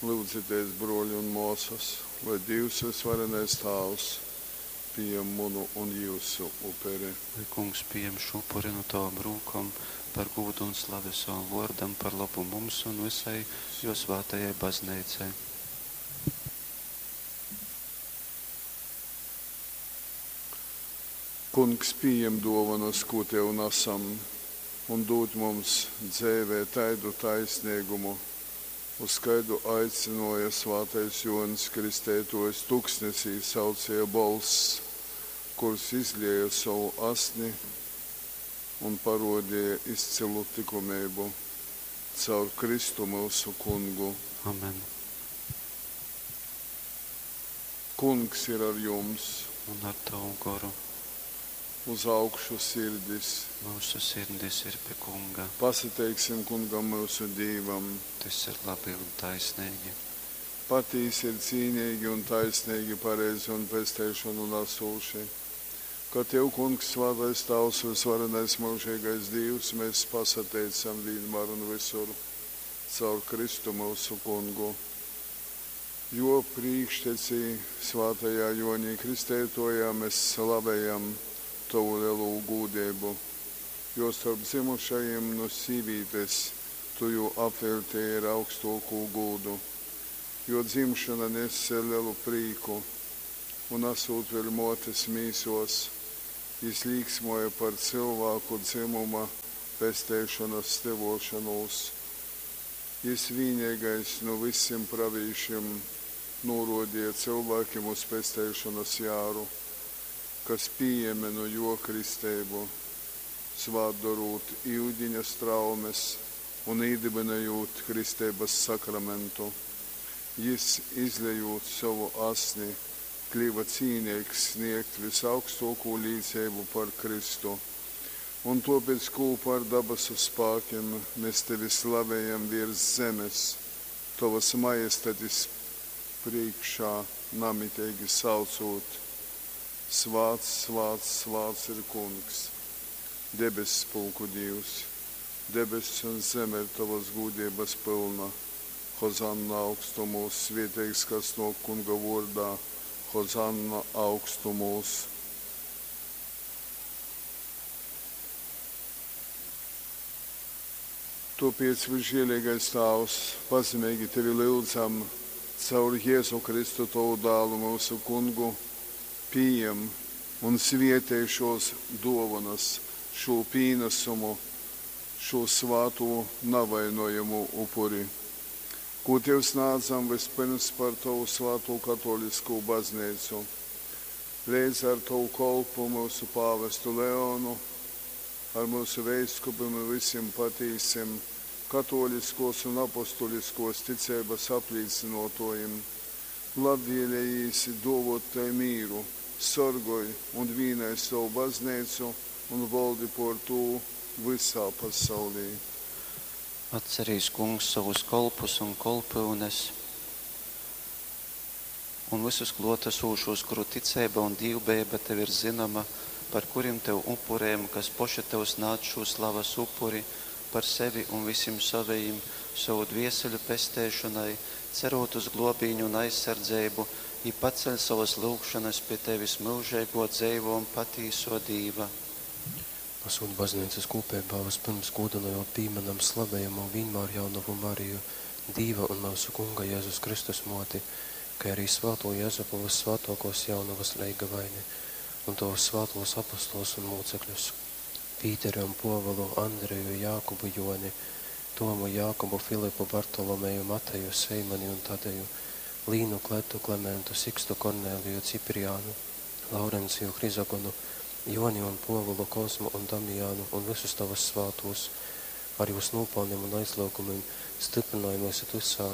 Lyudzitēs, brōli un mōsas, lai Dīvs vysvarenais Tāvs pījam munu un jyusu uperi. Lai Kungs pījam šū upuri nu tovom rūkom par gūdu un slavi sovam vōrdam, par lobu mums un vysai jō svātajai Bazneicai. Kungs, pījem dōvonas, kū tev nasam, un dūd mums dzeivē taidu taisneigumu, uz kaidu aicynōja svātais Jōņs Kristeitōjs Tuksnesī saucēja bolss, kurs izlēja sovu asni un parōdeja izcylu tykumeibu. Caur Kristu myusu Kungu. Amen. Kungs ir ar jums! Un ar tovu goru. Uz augšu sirdis! Myusu sirdis ir pi Kunga. Pasateiksim Kungam myusu Dīvam! Tys ir labi un taisneigi. Patīsi ir cīneigi un taisneigi, pareizi un pesteišonu nasūši, ka tev, Kungs, svātais Tāvs, vysvarenais myužeigais Dīvs, mes pasateicam vīnmār un vysur caur Kristu myusu Kungu. Jō prīkštecī, svātajā Jōnī Kristeitōjā mes slavejam tovu lelū gūdeibu, jo storp dzymušajim nu sīvītes tu jū apveļteji ar augstōkū gūdu. Jō dzimšona nese lelu prīku, un, asūt vēļ mōtes mīsōs, jys līksmōja par cylvāku dzymuma pesteišonas tyvōšonūs. Jys vīneigais nu vysim pravīšim nūrōdeja cylvākim uz pesteišonas jāru, kas pījēme nu jō kristeibu, svātdorūt yudiņa straumes un īdybynojūt kristeibas sakramentu. Jys, izlejūt sovu asni, kliva cīneigs snēgt vysaugstōkū līceibu par Kristu. Un tōpēc kūpā ar dabasu spākim mes tevi slavejam vērs zemes, tovas majestatis prīškā namiteigi saucūt, Svāts, svāts, svāts ir Kungs, debesspulku Dīvs! Debess un zeme ir tovas gūdeibas pylna. Hozanna augstumūs! Svēteigs, kas nōk Kunga vōrdā! Hozanna augstumūs! Tōpēc, vysžēleigais Tāvs, pazemeigi tevi lyudzam, caur Jezu Kristu tovu Dālu, myusu Kungu, pījem un svētej šōs dōvonas, šū pīnasumu, šū svātū navainojamū upuri, kū tev snādzam vyspyrms par tovu svātū katōliskū Bazneicu, leidza ar tovu kolpu, myusu pāvestu Leonu, ar myusu veiskupim un vysim patīsim katōliskōs un apostuliskōs ticeibas aplīcynōtōjim. Labvēlejīs dōvōt tai mīru, sorgoj un vīnoj sovu Bazneicu un voldi pōr tū vysā pasaulī. Atcerīs, Kungs, sovus kolpus un kolpyunes un vysus klōtasūšūs, kuru ticeiba un dīvbejeiba tev ir zynoma, par kurim tev upurejam, kas poši tev snādz šū slavas upuri par sevi un vysim sovejim, sovu dvieseļu pesteišonai, cerūt uz glōbīni un aizsardzeibu, jī paceļ sovas lyugšonas pi tevis, myužeigō, dzeivō un patīsō Dīva. Asūt Bazneicas kūpeibā, vyspyrms gūdynojūt pīmynam slavejamū Vīnmārjaunovu Mariju, Dīva un myusu Kunga Jezus Kristus Mōti, kai arī svātū Jezupu Vyssvātōkōs Jaunovas leigavaini un tovus svātūs apostolus un mūcekļus, Pīteri un Pōvulu, Andreju, Jākubu, Jōni, Tomu, Jākubu, Filipu, Bartolomeju, Mateju, Seimani un Tadeju, Līnu, Kletu, Klementu, Sikstu, Korneliju, Cipriānu, Laurenciju, Hrizogonu, Jōni un Pōvulu, Kozmu un Damijānu un vysus tovus svātūs, ar jūs nūpalnim un aizlyugumim styprynoj myus vysā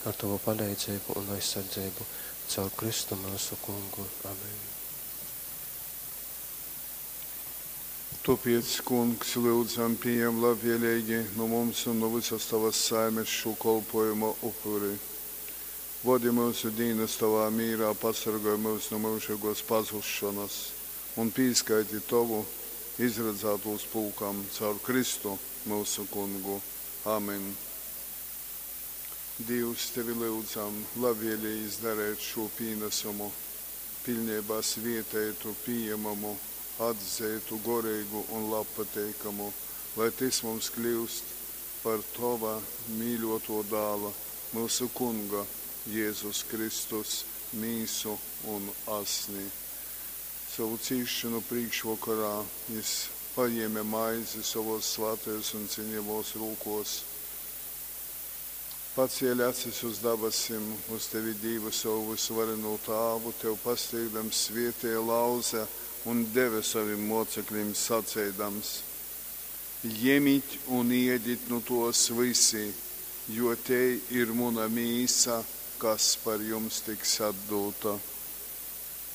ar tovu paleidzeibu un aizsardzeibu caur Kristu myusu Kungu. Amen. Tōpēc, Kungs, lyudzam, pījem labvēleigi nu mums un nu vysas tovas saimes šū kolpōjuma upuri. Vodi myusu dīnas tovā mīrā, pasorgoj myus nu myužeigōs pazusšonas un pīskaiti tovu izradzātūs pulkam caur Kristu, myusu Kungu. Amen. Dīvs, Tevi lyudzam, labvēlīgi izdareit šū pīnasumu piļneibā svieteitu, pījemamu, atzeitu, goreigu un labpateikamu, lai tys mums kļyust par Tova mīļōtō Dāla, myusu Kunga Jezus Kristus mīsu un asni. Sovu cīsšonu prīkšvokorā Jys pajēme maizi sovōs svātajōs un ciņejamōs rūkōs, pacēle acis uz dabasim, uz Tevi Dīvu sovu vysuvarenū Tāvu, Tev pasteigdams svēteja, lauze un deve sovim mōceklim saceidams, Jemit un ēdit nu tōs vysi, jo tei ir muna mīsa, kas par jums tiks atdūta.